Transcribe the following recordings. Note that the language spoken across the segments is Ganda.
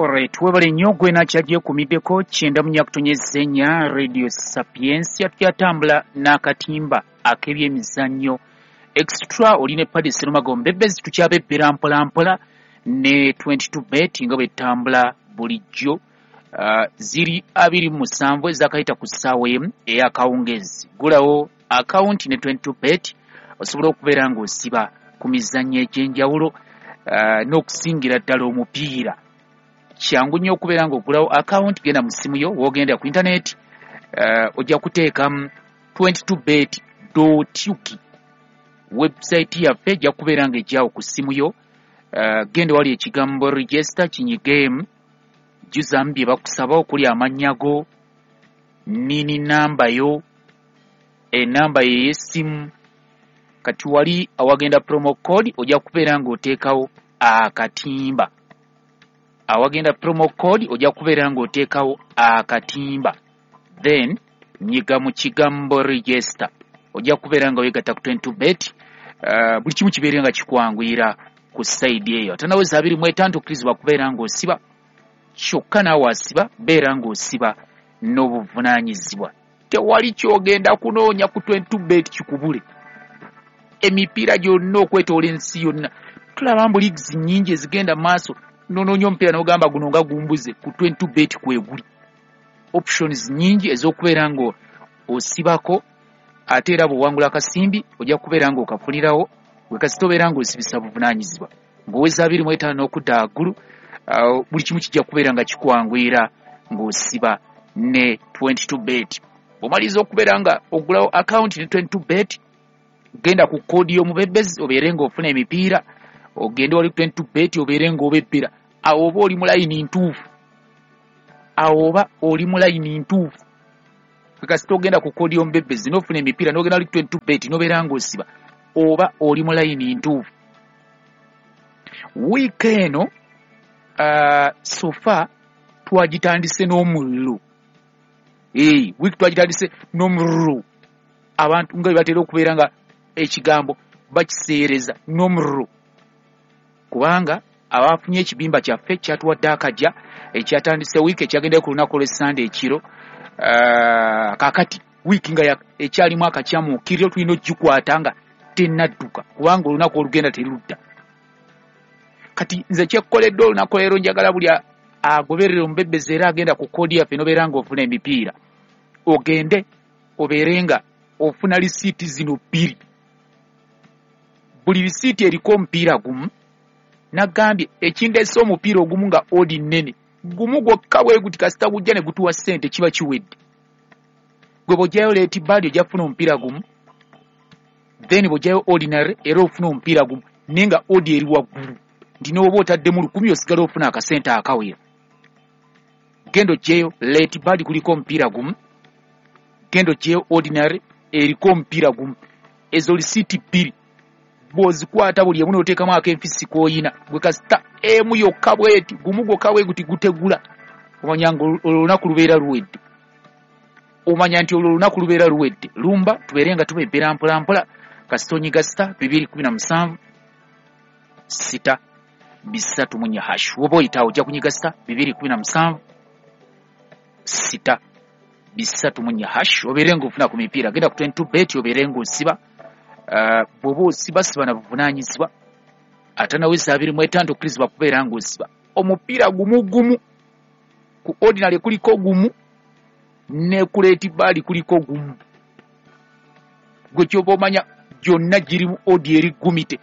Alright, webale nnyo gwe nakyagyekumiddeko 94.4 Radio Sapientia. Tukyatambula n'akatimba ak'ebyemizannyo extra. Oli ne Paddy Serumago Mbebezi, tukyabebbera mpola mpola ne 22 bet nga bwetambula bulijjo. Ziri 27 ezakayita ku ssaawa emu ey'akawungeezi. Gulawo akawunti ne 22 bet osobola okubeera ng'osiba ku mizannyo egy'enjawulo, n'okusingira ddala omupiira. Kyangu nnyo okubeera ng'ogulawo akawunti. Genda mu ssimu yo, w'ogenda ku intaneti, ojja kuteekamu 22bet ug. Website yaffe ejja kubeera ng'ejjawo ku ssimu yo. Genda wali ekigambo "register", kinyigeemu, jjuzaamu bye bakusaba okuli amannya go, nini, namba yo, enamba ye ey'essimu. Kati wali awagenda promo code ojja kubeera ng'oteekawo akatimba. Awagenda promo code ojja kubeera ng'oteekawo akatimba, then nyiga mu kigambo "register", ojja kubeera nga weegatta ku 22 bet. Buli kimu kibeere nga kikwanguyira ku side eyo. Ate naweza 25 okkirizibwa kubeera ng'osiba. Kyokka naawe asiba, beera ng'osiba n'obuvunaanyizibwa. Tewali kyogenda kunoonya ku 22 bet kikubule. Emipiira gyonna okwetoola ensi yonna, tulaba mbu leagues nnyingi ezigenda mu maaso. Nonoonya omupiira n'ogamba guno nga gumbuze, ku 22 bet kweguli options nnyingi ez'okubeera nga osibako. Ate era bw'owangula akasimbi ojja kubeera ng'okafunirawo gwe kasita obeera ng'osibisa buvunaanyizibwa ng'oweza 25 n'okudda waggulu. Buli kimu kijja kubeera nga kikwanguyira ng'osiba ne 22 bet. Bw'omaliriza okubeera nga ogulawo akawunti ne 22 bet, genda ku code y'omubebezi obeere ng'ofuna emipiira. Ogende wali 22 bet obeere ng'obebbera. Awo oba oli mu layini ntuufu, awo oba oli mu layini ntuufu. Kasita ogenda ku code y'omubebezi n'ofuna emipiira, n'ogenda wali 22 bet n'obeera ng'osiba, oba oli mu layini ntuufu. Wiiki eno so far twagitandise n'omuliro. Wiiki twagitandise n'omuliro. Abantu nga bwe batera okubeera nga ekigambo bakiseereza n'omuliro, kubanga abafunye ekibimba kyaffe kyatuwadde akajja ekyatandise wiiki, ekyagendayo ku lunaku olw'essande ekiro. Kaakati wiiki nga ekyalimu akakyamuukiriro, tulina ogikwata nga tennadduka, kubanga olunaku olugenda terudda. Kati nze kyekkoledde olunaku leero, njagala buli agoberera omubebezi era agenda ku code yaffe nobeera ng'ofuna emipiira, ogende obeere nga ofuna lisiiti zino bbiri. Buli lisiiti eriko omupiira gumu. Nagambye ekindeese omupiira ogumu nga odd nnene, gumu gwokka bwe guti, kasita gujja ne gutuwa ssente kiba kiwedde. Gwe bw'ojjayo late bird ojja kufuna omupiira gumu, then bw'ojjayo ordinary era ofuna omupiira gumu, naye nga odd eri waggulu nti n'oba otaddemu 1,000 osigala ofuna akasente akawera. Genda oggyeyo late bird kuliko omupiira gumu, genda oggyeyo ordinary eriko omupiira gumu. Ezo lisiiti bbiri bw'ozikwata, buli emu n'oteekamu ak'enfisi k'oyina, gwe kasita emu yokka bweti, gumu gwokka bwe guti gutegula, omanya nga olwo olunaku lubeera luwedde. Omanya nti olwo olunaku lubeera luwedde. Lumba tubeere nga tubebbera mpola mpola. Kasita onyiga *217 *334 hash, woba oyitaawo ojja kunyiga *217 *334 hash, obeere ng'ofuna ku mipiira. Genda ku 22 bet obeere ng'osiba. Bw'oba osiba, siba na buvunaanyizibwa. Ate naweza 25 okkirizibwa kubeera ng'osiba omupiira gumu gumu. Ku ordinary kuliko gumu, ne ku late bird kuliko gumu. Gwe kyoba omanya gyonna girimu odd eri gumite,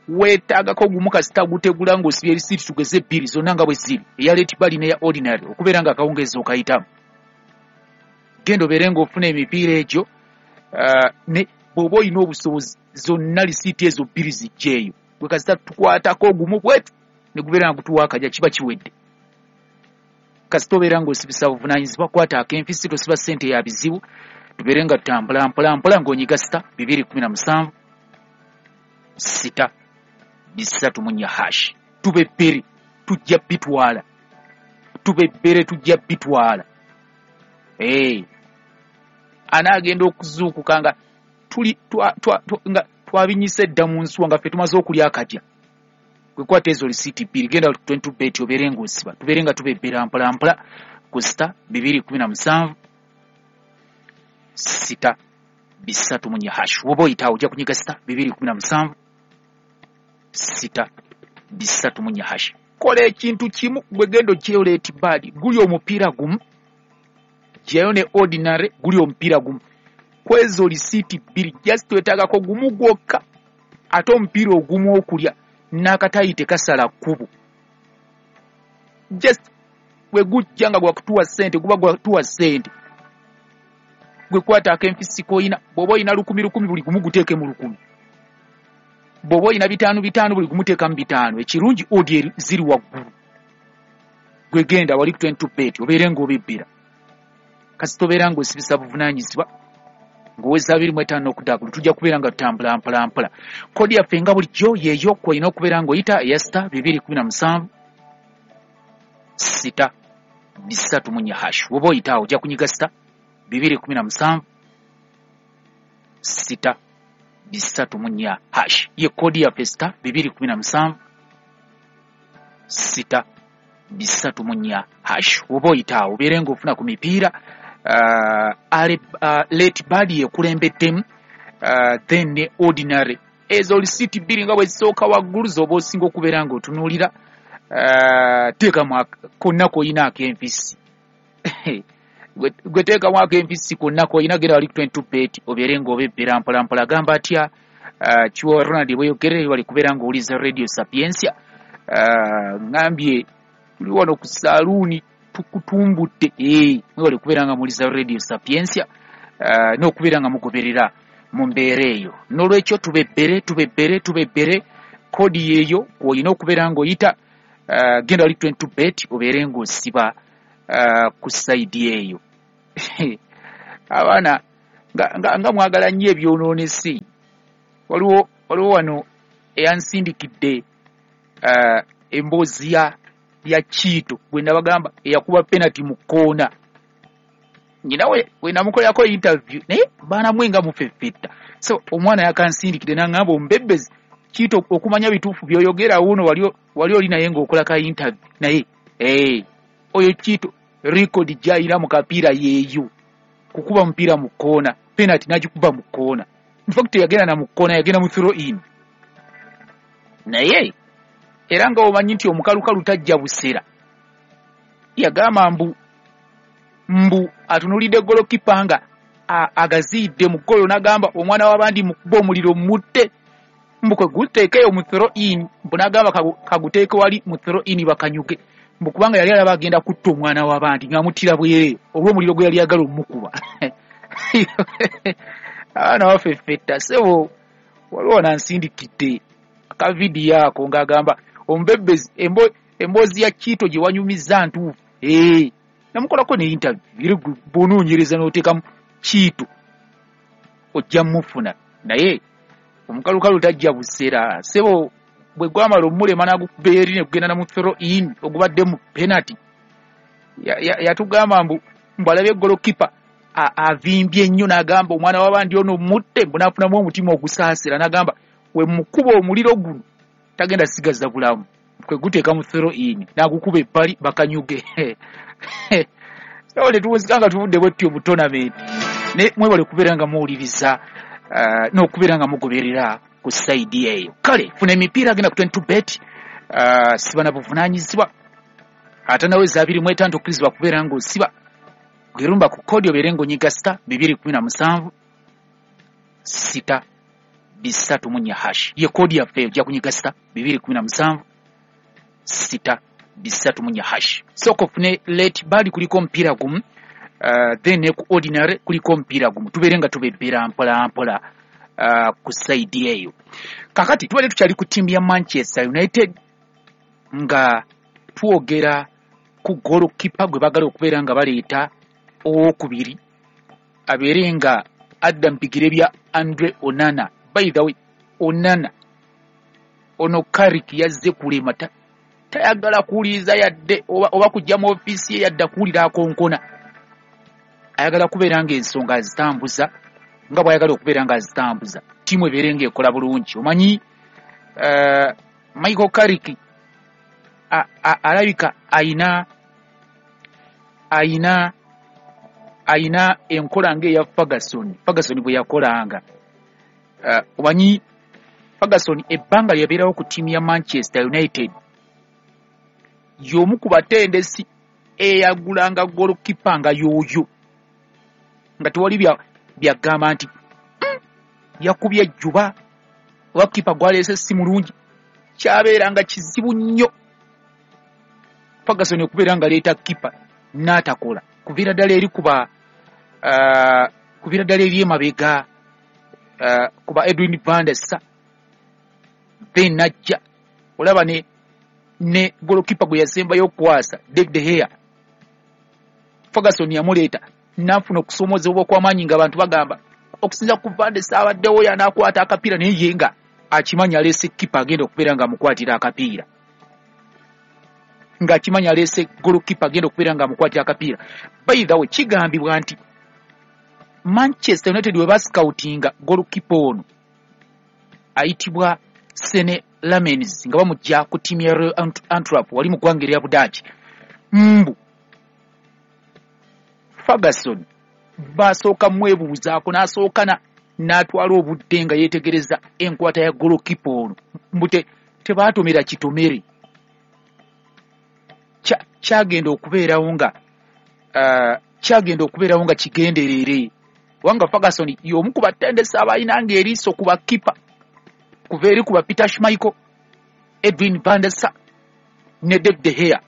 weetaagako gumu. Kasita gutegula ng'osibye erisiiti tugeze bbiri zonna nga bwe ziri, eya late bird n'eya ordinary, okubeera nga akawungeezi okayitamu. Genda obeere ng'ofuna emipiira egyo. Ne bw'oba olina obusobozi, zonna lisiiti ezo bbiri zijjeeyo. Gwe kasita tukwatako ogumu bwetu ne gubeera nga gutuwa akajja, kiba kiwedde. Kasita obeera ng'osibisa buvunaanyizibwa, kwata ak'enfisi, tosiba ssente ya bizibu. Tubeere nga tutambula mpola mpola ng'onyiga *217 *334 hash. Tubebbere, tujja bitwala. Tubebbere, tujja bitwala. Hey. Anaagenda okuzuukuka nga tuli nga twabinyisa edda mu nsuwa, nga ffe tumaze okulya akajja. Gwekwata ezo lisiiti 2, genda 22 bet obeere ng'osiba, tubeere nga tubebbera mpola mpola ku star 217 6 3 4 hash. Woba oyitaawo ojja kunyiga star 217 6 3 4 hash. Kola ekintu kimu, gwe genda oggyeyo late bird, guli omupiira gumu, ggyayo ne ordinary, guli omupiira gumu. Kwezo lisiiti 2, just wetaagako gumu gwokka, ate omupiira ogumu okulya n'akatayi tekasala kkubo. Just bwe gujja nga gwakutuwa ssente, guba gwatuwa ssente. Gwe kwata akenfisi k'oyina, bw'oba oyina 1,000 1,000 buli gumu guteeke mu 1,000. Bw'oba oyina 5 5 buli gumu teekamu 5. Ekirungi odi ziri waggulu. Gwe genda wali ku 22 bet obeere ng'obebbera. Kasita obeera ng'osibisa buvunaanyizibwa ng'oweza 25 okudda waggulu, tujja kubeera nga tutambula mpola mpola. Kodi yaffe nga bulijjo yeeyo kw'olina okubeera ng'oyita eya star 217 6 3 4 hash. Woba oyitaawo ojja kunyiga star 217 6 3 4 hash. Ye kodi yaffe star 217 6 3 4 hash. Woba oyitaawo obeere ng'ofuna ku mipiira. Late bird yekulembeddemu, then ne ordinary. Ezo lisiiti 2 nga bwe zisooka waggulu z'oba osinga okubeera ng'otunuulira. Teekamu konna k'oyina ak'enfisi. Gwe teekamu ak'enfisi konna k'oyina, genda wali ku 22 bet obeere ng'obebbera mpola mpola. Gamba atya Kiwa Ronald bweyogerere wali kubeera ng'owuliza Radio Sapientia. Ngambye tuli wano ku saluuni tukutumbudde, mwebale kubeera nga muwuliza Radio Sapientia n'okubeera nga mugoberera mu mbeera eyo. N'olwekyo tubebbere tubebbere tubebbere, kodi yeeyo kw'olina okubeera ng'oyita. Genda wali 22 bet obeere ng'osiba ku sayidi eyo. Abaana nga mwagala nnyo ebyonoonese. Waliwo wano eyansindikidde emboozi ya Kiito gwe nabagamba eyakuba penalty mu kkoona. Nyina we namukolerako interview, naye baana mwe nga mufeffetta. So omwana yakansindikidde n'aŋŋamba omubebbezi Kiito okumanya bituufu by'oyogera wuuno wali oli naye ng'okola ka interview naye oyo Kiito record gy'ayina mu kapiira yeeyo, kukuba mupiira mu kkoona, penalty n'agikuba mu kkoona. In fact yagenda na mu kkoona, yagenda mu throw in. Naye era nga omanyi nti omukalukalu tajja busera, yagamba mbu atunuulidde golokipa nga agaziyidde mu ggolo, n'agamba omwana w'abandi mukuba omuliro mutte, mbu kwe guteekeyo mu throw in, mbu n'agamba kaguteeke wali mu throw in bakanyuge, mbu kubanga yali alaba agenda kutta omwana w'abandi ng'amuttira bwereere olw'omuliro gwe yali ayagala omumukuba. Abaana bafeffetta ssebo. Waliwo nansindikidde akavidiyo ako ng'agamba omubebbezi emboozi ya Kiito gye wanyumizza ntuufu. Namukolako ne interview, era bw'onoonyereza n'oteekamu Kiito ojja mufuna. Naye omukalukalu tajja busera ssebo, bwe gwamala omulema n'agukuba eri ne gugenda na mu throw in ogubadde mu penalty. Yatugamba mbu alabye golokipa avimbye nnyo, n'agamba omwana w'abandi ono mutte, mbu n'afunamu omutima ogusaasira, n'agamba we mukuba omuliro guno tagenda sigaza bulamu, kwe guteeka mu throw in n'agukuba ebbali bakanyuge. So tetuwuzika nga tuvudde bwe tutyo mu tournament. Ne mwebale kubeera nga muwuliriza n'okubeera nga mugoberera ku sayidi eyo. Kale funa emipiira, genda ku 22 bet, siba na buvunaanyizibwa ate naweza 25 okkirizibwa kubeera ng'osiba. Gwerumba ku kodi obeere ng'onyiga star 217 6 3 4 hash. Ye kodi yaffe ojja kunyiga star 217 6 3 4 hash. Sooka ofune late bird kuliko omupiira gumu, then ne ku ordinary kuliko omupiira gumu, tubeere nga tubebbera mpola mpola ku sayidi eyo. Kakati tubadde tukyali ku ttiimu ya Manchester United nga twogera ku goalkeeper gwe baagala okubeera nga baleeta owokubiri abeere nga adda mu bigere bya Andre Onana. By the way, Onana ono Carrick yazze kulema, tayagala kuwuliriza yadde oba kujja mu ofiisi ye yadde kuwulira akonkona. Ayagala kubeera ng'ensonga azitambuza nga bw'ayagala okubeera ng'azitambuza, ttiimu ebeere ng'ekola bulungi. Omanyi Michael Carrick alabika ayina ayina ayina enkola ng'eya Ferguson. Ferguson bwe yakolanga, omanyi Ferguson ebbanga lyabeerawo ku ttiimu ya Manchester United, y'omu ku batendesi eyagulanga golokipa nga yooyo, nga tewali byagamba nti yakubye ejjuba oba kipa gwaleese si mulungi. Kyabeeranga kizibu nnyo Ferguson okubeera nga leeta kipa n'atakola, kuviira ddala eri kuba kuviira ddala eri emabega kuba Edwin van der Sar, then najja olaba ne golokipa gwe yasembayo okukwasa, David de Gea. Ferguson yamuleeta n'afuna okusoomozebwa okw'amaanyi, ng'abantu bagamba okusinza ku van der Sar abaddewo yanaakwata akapiira, naye ye nga akimanyi aleese kipa agenda okubeera ng'amukwatira akapiira, ng'akimanyi aleese golokipa agenda okubeera ng'amukwatira akapiira. By the way, kigambibwa nti Manchester United we bascoutinga golokipa ono ayitibwa Senne Lammens nga bamujja ku ttiimu ya Royal Antwerp wali mu ggwanga erya Budaaki, mbu Ferguson basooka mwebuuzaako, n'asooka n'atwala obudde nga yeetegereza enkwata ya golokipa ono, mbu tebaatomera kitomere. Kyagenda okubeerawo nga kigenderere, kubanga Ferguson y'omu ku batendesi abalina ng'eriiso ku bakipa, kuva eri ku ba Peter Schmeichel, Edwin van der Sar ne David de Gea,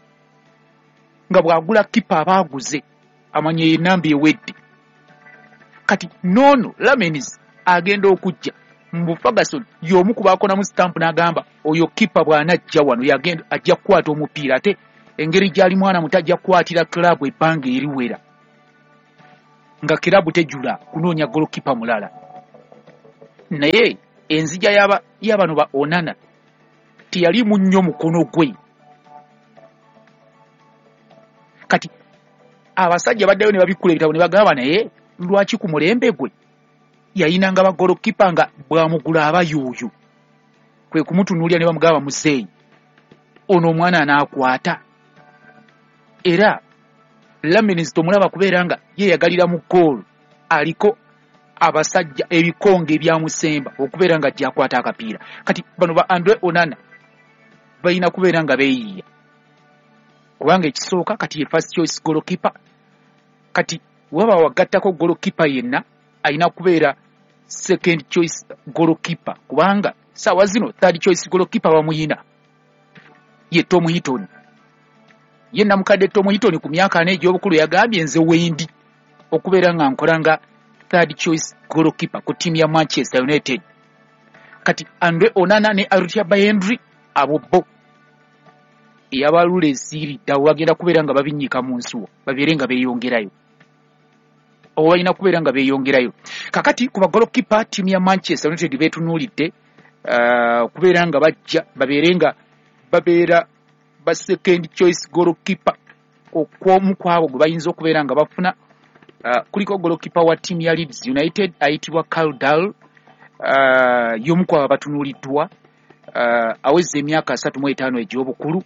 nga bw'agula kipa aba aguze amanya enamba ewedde. Kati noono Lammens agenda okujja, mbu Ferguson y'omu ku baakonamu stamp n'agamba oyo kipa bw'anajja wano yagenda ajja kukwata omupiira, ate engeri gy'ali mwana muto ajja kukwatira club ebbanga eriwera, nga kirabu tejula kunoonya golokipa mulala. Naye enzija y'abano ba Onana teyalimu nnyo mukono gwe. Kati abasajja baddayo ne babikkula ebitabo ne bagamba, naye lwaki ku mulembe gwe yayinanga bagolokipa nga bw'amugula aba yooyo? Kwe kumutunuulira ne bamugamba, muzeeyi, ono omwana anaakwata? Era Lammens tomulaba kubeera nga yeeyagalira mu ggoolo, aliko abasajja ebikonge ebyamusemba okubeera nga ajja akwata akapiira. Kati bano ba Andre Onana balina kubeera nga beeyiiya, kubanga ekisooka kati ye first choice goalkeeper. Kati waba wagattako goalkeeper yenna, alina kubeera second choice goalkeeper, kubanga saawa zino third choice goalkeeper bamuyina, ye Tom Heaton. Ye namukadde Tom Heaton ku myaka 4 egy'obukulu yagambye, nze wendi okubeera nga nkola nga third choice goalkeeper ku ttiimu ya Manchester United. Kati Andre Onana ne Altay Bayindir, abo bo eyabalula esiiridde, abo bagenda kubeera nga babinnyika mu nsuwa babeere nga beeyongerayo, oba balina kubeera nga beeyongerayo. Kakati ku bagolokipa ttiimu ya Manchester United beetunuulidde okubeera nga bajja babeere nga babeera ba second choice goalkeeper, okwomu kwabo gwe bayinza okubeera nga bafuna, kuliko goalkeeper wa ttiimu ya Leeds United ayitibwa Karl Darlow, y'omu kwabo abatunuuliddwa. Aweza emyaka 35 egy'obukulu.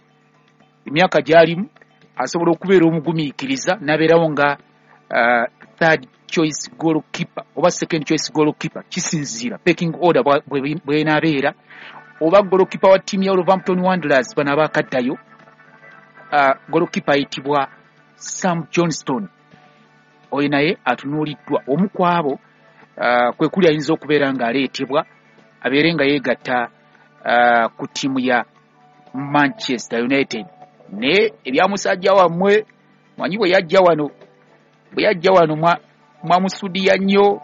Emyaka gy'alimu asobola okubeera omugumiikiriza n'abeerawo nga third choice goalkeeper oba second choice goalkeeper, kisinziira pecking order bw'enaabeera, oba goalkeeper wa ttiimu ya Wolverhampton Wanderers, bano abaakaddayo, goalkeeper ayitibwa Sam Johnstone, oyo naye atunuuliddwa. Omu ku abo kwe kuli ayinza okubeera ng'aleetebwa abeere nga yeegatta ku ttiimu ya Manchester United. Naye ebya musajja wammwe, manyi bwe yajja wano mwamusudiya nnyo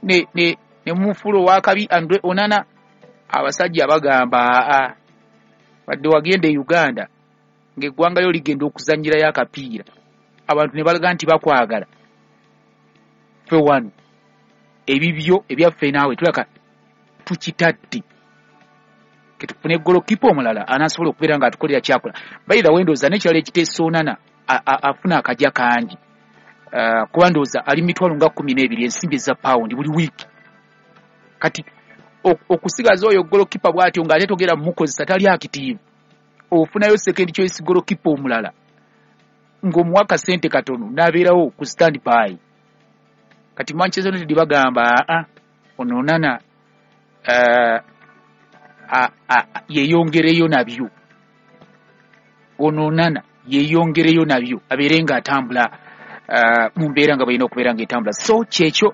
ne mumufuula owakabi Andre Onana. Abasajja bagamba, aa, wadde wagenda e Uganda ng'eggwanga lyo ligenda okuzannyirayo akapiira, abantu ne balaga nti bakwagala, ffe wano ebibyo ebyaffe naawe tulaka tukitadde, ketufune golokipa omulala anaasobola okubeera ng'atukolera kyakola. By the way, ndowooza n'ekirala ekiteesa, Onana afuna akajja kangi, kuba ndowooza ali 12,000 ensimbi eza pawundi buli wiiki. Kati Okusigaza oyo goalkeeper bw'atyo ng'ate togera mumukozesa, tali active, ofunayo second choice goalkeeper omulala ng'omuwa akasente katono n'abeerawo ku stand by. Kati Manchester United bagamba, aa, ono Onana yeeyongereyo nabyo, ono Onana yeeyongereyo nabyo, abeere ng'atambula mu mbeera nga balina okubeera ng'etambula. So kyekyo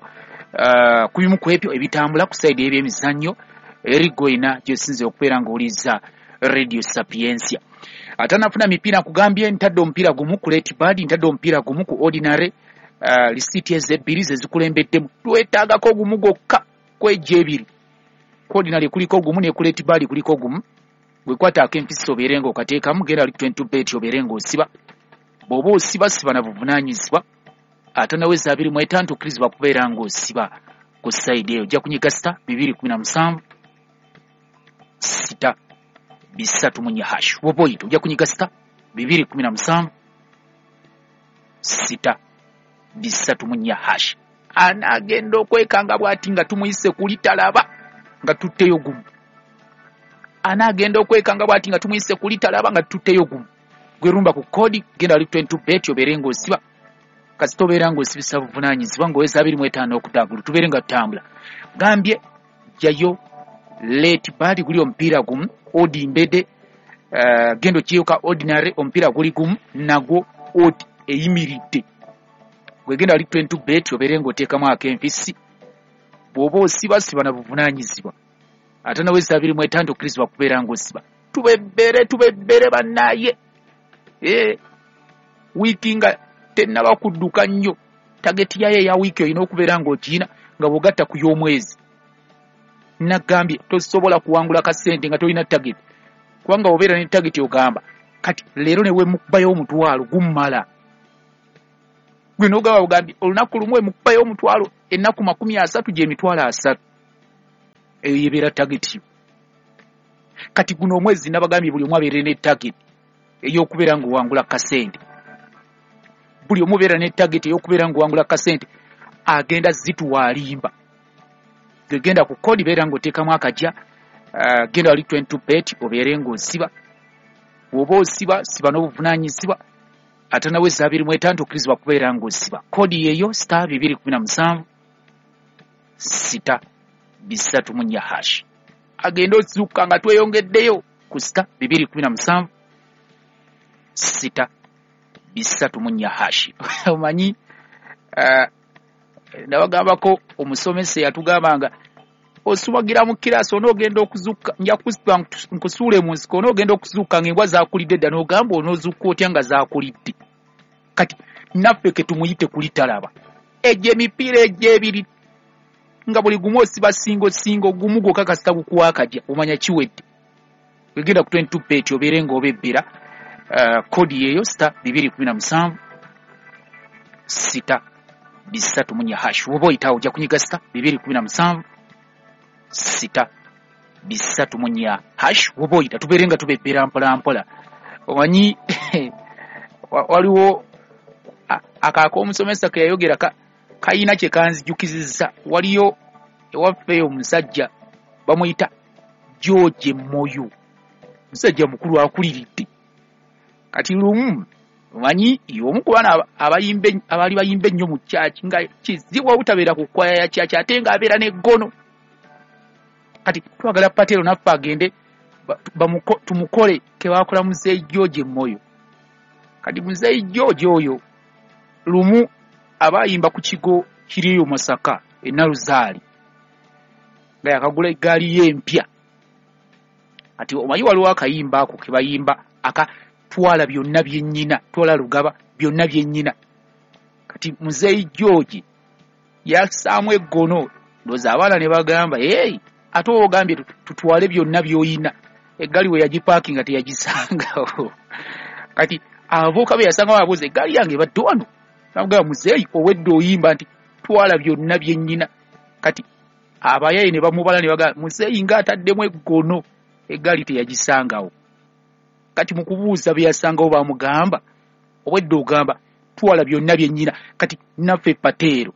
ku bimu ku ebyo ebitambula ku side y'ebyemizannyo eri goyina gyosinze okubeera ng'owuliriza Radio Sapientia. Atanafuna mipiira, nkugambye ntadde omupiira gumu ku late bird, ntadde omupiira gumu ku ordinary. Lisiiti ezo ebbiri ze zikulembeddemu, twetaagako gumu gwokka kwejja ebiri. Ku ordinary kuliko gumu, ne ku late bird kuliko gumu. Bwekwataako empisa obeere ng'okateekamu, genda ali 22 bet obeere ng'osiba. Bw'oba osiba, siba na buvunaanyizibwa. Ate naweza 25 okkirizibwa kubeera ng'osiba ku side eyo. Ojja kunyiga star 217 6 3 4 hash. Woba oyita ojja kunyiga star 217 6 3 4 hash. Anaagenda okwekanga bw'ati nga tumuyise kuli talaba nga tutteyo gumu. Anaagenda okwekanga bw'ati nga tumuyise kuli talaba nga tutteyo gumu. Gwerumba ku kodi, genda ali 22 bet obeere ng'osiba. Kasita obeera ng'osibisa buvunaanyizibwa ng'oweza 25 okudagulu, tubeere nga tutambula. Gambye jjayo late bird guli omupiira gumu, odd mbede. Genda okiyoka ordinary omupiira guli gumu nagwo, odd eyimiridde. Gwegenda ali 22 bet obeere ng'oteekamu ak'enfisi. Bw'oba osiba, siba na buvunaanyizibwa. Ate naweza 25 okkirizibwa kubeera ng'osiba. Tubebbere, tubebbere bannaaye. Wiiki nga tennaba kudduka nnyo, target yayo eya wiiki olina okubeera ng'ogiina nga bw'ogatta ku y'omwezi. Nagambye tosobola kuwangula kasente nga tolina target, kubanga obeera ne target ogamba kati leero ne wemukubayo omutwalo gummala. Gwe n'ogamba bugambye olunaku lumu wemukubayo omutwalo, ennaku 30 gy'emitwalo 30. Eyo yebeera target yo. Kati guno omwezi nabagambye buli omu abeere ne target ey'okubeera ng'owangula kasente. Buli omu obeera ne target ey'okubeera ng'owangula kasente, agenda zituwa alimba. Gegenda ku kodi, beera ng'oteekamu akajja. Genda wali 22 bet obeere ng'osiba. Bw'oba osiba, siba n'obuvunaanyizibwa. Ate naweza 25 okkirizibwa kubeera ng'osiba. Kodi yeeyo star 217 6 3 4 hash. Agenda ozuuka nga tweyongeddeyo ku star 217 6 3 4 hash. Omanyi nabagambako omusomesa yatugambanga osumagira mu kirasi, onoogenda okuzuuka nja kusiba nkusuule mu nsiko, onoogenda okuzuuka ng'embwa zaakulidde dda, n'ogamba onoozuuka otya nga zaakulidde? Kati naffe ke tumuyite kuli talaba. Egyo emipiira egyo ebiri nga buli gumu osiba single single gumu gwokka, kasita gukuwa akajja omanya kiwedde. Wegenda ku 22 bet obeere ng'obebbera. Kodi yeeyo star 217 6 3 4 hash. Woba oyitawo ojja kunyiga star 217 6 3 4 hash. Woba oyita tubeere nga tubebbera mpola mpola. Omanyi waliwo akaako omusomesa ke yayogera kayina kye kanzijukizizza. Waliyo ewaffe omusajja bamuyita George Moyo, musajja mukulu akuliridde. Kati lumu omanyi omu ku baana abaali bayimba ennyo mu kyaki, nga kizibu obutabeera ku kwaya ya kyaki, ate ng'abeera n'eggono. Kati twagala Patero naffe agende tumukole ke bakola muzeeyi George Moyo. Kati muzeeyi George oyo lumu aba ayimba ku kigo kiriyo Masaka e Naluzaali, nga yakagula eggaali ye empya. Kati omanyi waliwo akayimba ako ke bayimba aka twala byonna byennyina, twala Lugaba byonna byennyina. Kati muzeeyi George yassaamu eggono, ndowooza abaana ne bagamba, "Hey, ate oba ogambye tutwale byonna by'oyina." Eggaali we yagipaakinga teyagisangawo. Kati abavubuka be yasanga babuuza, "Eggaali yange ebadde wano?" Namugamba, "Muzeeyi, owedde oyimba nti twala byonna byennyina." Kati abayaye ne bamubala ne bagamba, "Muzeeyi ng'ataddemu eggono, eggaali teyagisangawo." Kati mu kubuuza be yasangawo bamugamba, "Obwedde ogamba twala byonna byennyina." Kati naffe Pateero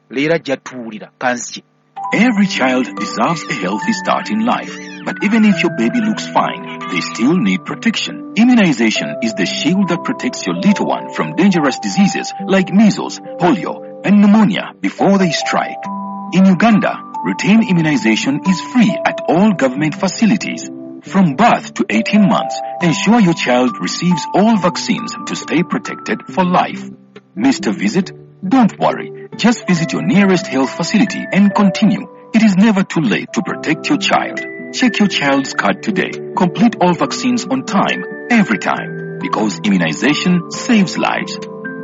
leero ajja tuwulira kanzije. Every child deserves a healthy start in life. But even if your baby looks fine, they still need protection. Immunization is the shield that protects your little one from dangerous diseases like measles, polio, and pneumonia before they strike. In Uganda, routine immunization is free at all government facilities. From birth to 18 months, ensure your child receives all vaccines to stay protected for life. Missed a visit? Don't worry. Just visit your nearest health facility and continue. It is never too late to protect your child. Check your child's card today. Complete all vaccines on time, every time, because immunization saves lives.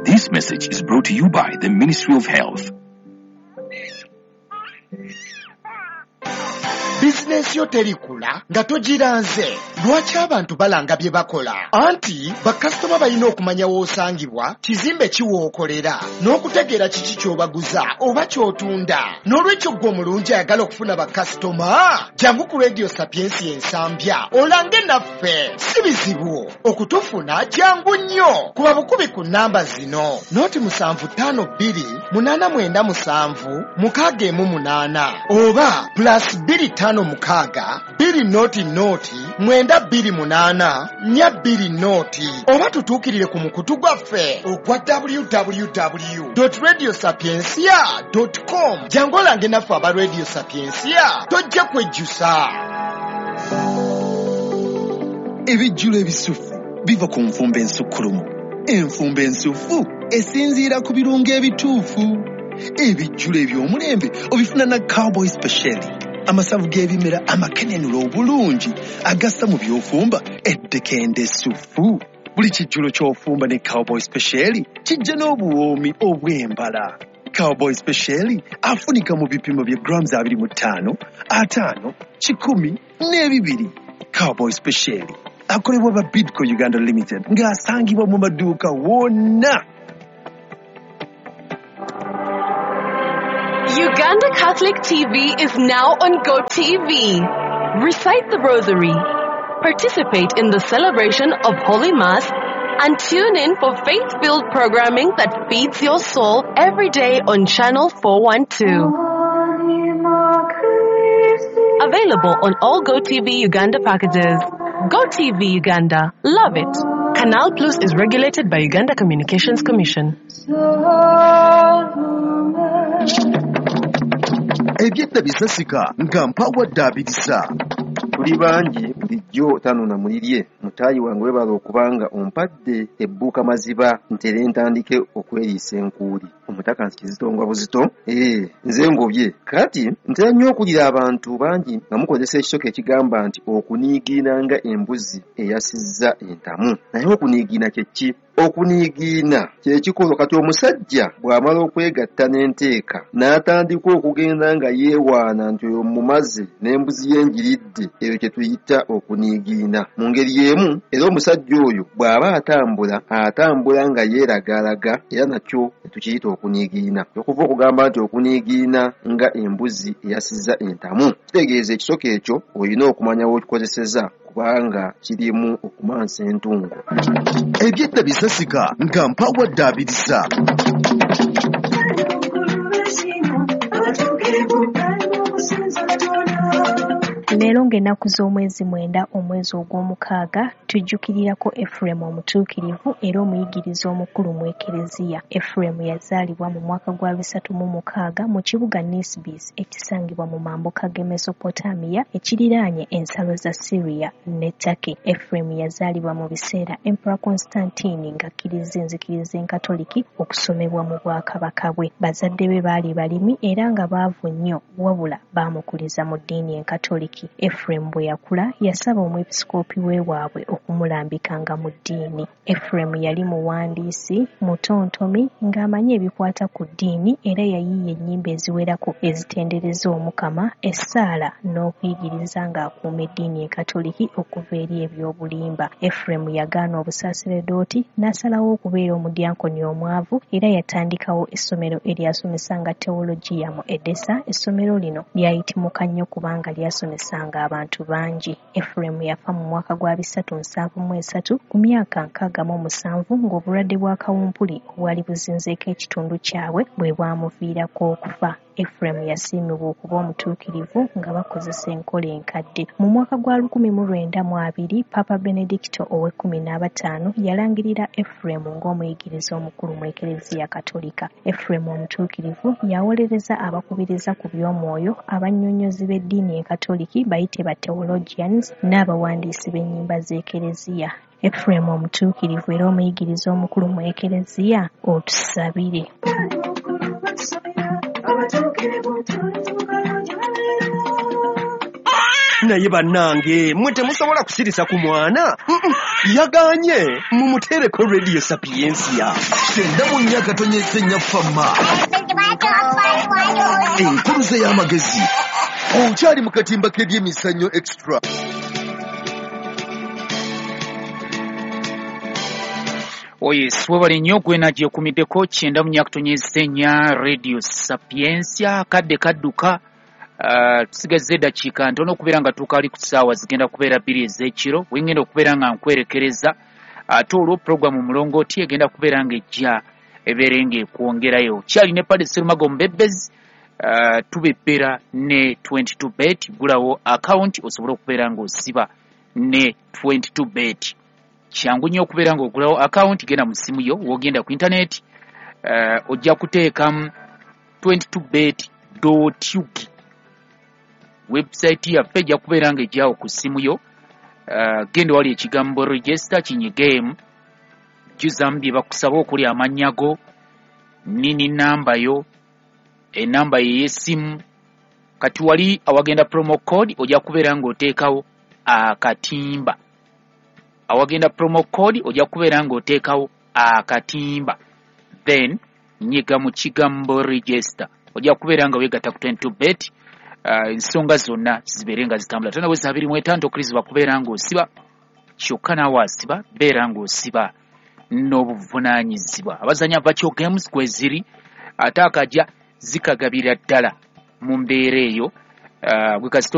This message is brought to you by the Ministry of Health. Bizinensi yo terikula nga togiranze. Lwaki abantu balanga bye bakola? Anti bakasitoma balina okumanya w'osangibwa, kizimbe ki w'okolera, n'okutegeera kiki ky'obaguza oba ky'otunda. N'olwekyo ggwe omulungi ayagala okufuna bakasitoma, jangu ku Radio Sapientia Ensambya olange naffe. Si bizibu okutufuna, jangu nnyo. Kuba bukubi ku nnamba zino: 0752 897 618 oba +256 200 928 420, oba tutuukirire ku mukutu gwaffe ogwa www.radiosapientia.com. Jangu olange naffe aba Radio Sapientia, tojja kwejjusa. Ebijjulo ebisufu biva ku nfumba ensukkulumu. Enfumba ensufu esinziira ku birungo ebituufu. Ebijjulo eby'omulembe obifuna na Cowboy Special, amasavu g'ebimera amakenenula obulungi agassa mu by'ofumba eddekende essufu. Buli kijjulo ky'ofumba ne Cowboy Special kijja n'obuwoomi obw'embala. Cowboy Special afunika mu bipimo bya grams 25, 50, 100 n'ebibiri. Cowboy Special akolebwa ba Bidco Uganda Limited ng'asangibwa mu maduuka wonna. Uganda Catholic TV is now on GoTV. Recite the Rosary, participate in the celebration of Holy Mass, and tune in for faith-filled programming that feeds your soul every day on Channel 412. Available on all GoTV Uganda packages. GoTV Uganda. Love it. Canal Plus is regulated by Uganda Communications Commission. Ebyedda bisasika nga mpawadde abirisa. Tuli bangi bulijjo tanona mulirye. Mutaayi wange weebala okubanga ompadde ebbuuka maziba ntere ntandike okweriisa enkuuli. Omutaka nsi kizitongwa buzito. Nze ngobye. Kati ntera nnyo okulira abantu bangi nga mukozesa ekisoko ekigamba nti okuniigiina nga embuzi eyasizza entamu. Naye okuniigiina kye ki? Okuniigiina kye kikolwa kati omusajja bw'amala okwegatta n'enteeka n'atandika okugenda nga yeewaana nti oyo mumaze n'embuzi ye ngiridde, eyo kye tuyita okuniigiina. Mu ngeri y'emu era omusajja oyo bw'aba atambula, atambula nga yeeragalaga, era nakyo tukiyita okuniigiina. Okuva okugamba nti okuniigiina nga embuzi eyasizza entamu kitegeeza ekisoko ekyo olina okumanya w'okikozeseza kubanga kirimu okumansa entungo. Ebyedda bisasika nga mpawadde abirisa. Leero ng'ennaku z'omwezi 9 omwezi ogw'omukaaga tujjukirirako Efuremu omutuukirivu era omuyigiriza omukulu mu Ekereziya. Efuremu yazaalibwa mu mwaka gwa 306 mu kibuga Nisibis ekisangibwa mu mambuka g'e Mesopotamiya ekiriraanye ensalo za Syria ne Turkey. Efuremu yazaalibwa mu biseera Emperor Constantine ng'akkiriza enzikiriza enkatoliki okusomebwa mu bwakabaka bwe. Bazadde be baali balimi era nga baavu nnyo, wabula baamukuliza mu ddiini enkatoliki. Efuremu bwe yakula yasaba omwepisikoopi w'ewaabwe okumulambikanga mu ddiini. Efuremu yali muwandiisi, mutontomi, ng'amanyi ebikwata ku ddiini era yayiiya ennyimba eziwerako ezitendereza Omukama, essaala n'okuyigiriza ng'akuuma eddiini enkatoliki okuva eri ebyobulimba. Efuremu yagaana obusaaseredooti n'asalawo okubeera omudyankoni omwavu era yatandikawo essomero eryasomesanga tewologiya mu Edessa. Essomero lino lyayitimuka nnyo kubanga lyasomesanga abantu bangi. Efuremu yafa mu mwaka gwa 373 ku myaka 67 ng'obulwadde bwa kawumpuli obwali buzinzeeko ekitundu kyabwe bwe bwamuviirako okufa. Efuremu yasiimibwa okuba omutuukirivu nga bakozesa enkola enkadde. Mu mwaka gwa 1920, Paapa Benedicto ow'ekkumi n'abataano yalangirira Efuremu ng'omuyigiriza omukulu mu Ekereziya Katolika. Efuremu omutuukirivu yawolereza abakubiriza ku by'omwoyo, abannyonnyozi b'eddiini Enkatoliki bayite ba theologians n'abawandiisi b'ennyimba z'Ekereziya. Efuremu omutuukirivu era omuyigiriza omukulu mu Ekereziya, otusabire. Naye bannange mmwe temusobola kusirisa ku mwana. Yaganye mumuteereko Radio Sapiensia. 94.4 Fama. Enkuluze y'amagezi. Okyali mu katimba k'ebyemizannyo extra. Oyes, webale nnyo gwena gyekumiddeko 94.4 Radio Sapiensia. Kadde kadduka. Tusigazza eddakiika ntono okubeera nga tukaali ku ssaawa zigenda kubeera 2 ez'ekiro. Wengenda okubeera nga nkwerekereza, ate olwo puroguramu Mulongooti egenda kubeera ng'ejja ebeere ng'ekwongerayo. Kyali ne Padre Serumago Mbebezi, tubebbera ne 22 bet. Gulawo akawunti osobole okubeera ng'osiba ne 22 bet. Kyangu nnyo okubeera ng'ogulawo akawunti, genda mu ssimu yo, w'ogenda ku intaneti, ojja kuteekamu 22bet.ug. Website yaffe ejja kubeera ng'ejjawo ku ssimu yo. Genda wali ekigambo register kinyigeemu, jjuzaamu bye bakusaba okuli amannya go, nini namba yo, enamba ye y'essimu. Kati wali awagenda promo code ojja kubeera ng'oteekawo akatimba. Awagenda promo code ojja kubeera ng'oteekawo akatimba, then nyiga mu kigambo register, ojja kubeera nga weegatta ku 22 bet. Ensonga zonna zibeere nga zitambula. Tona weza 25 okkirizibwa kubeera ng'osiba, kyokka naawe asiba beera ng'osiba n'obuvunaanyizibwa. Abazannya virtual games kweziri, ate akajja zikagabira ddala mu mbeera eyo. Gwe kasita.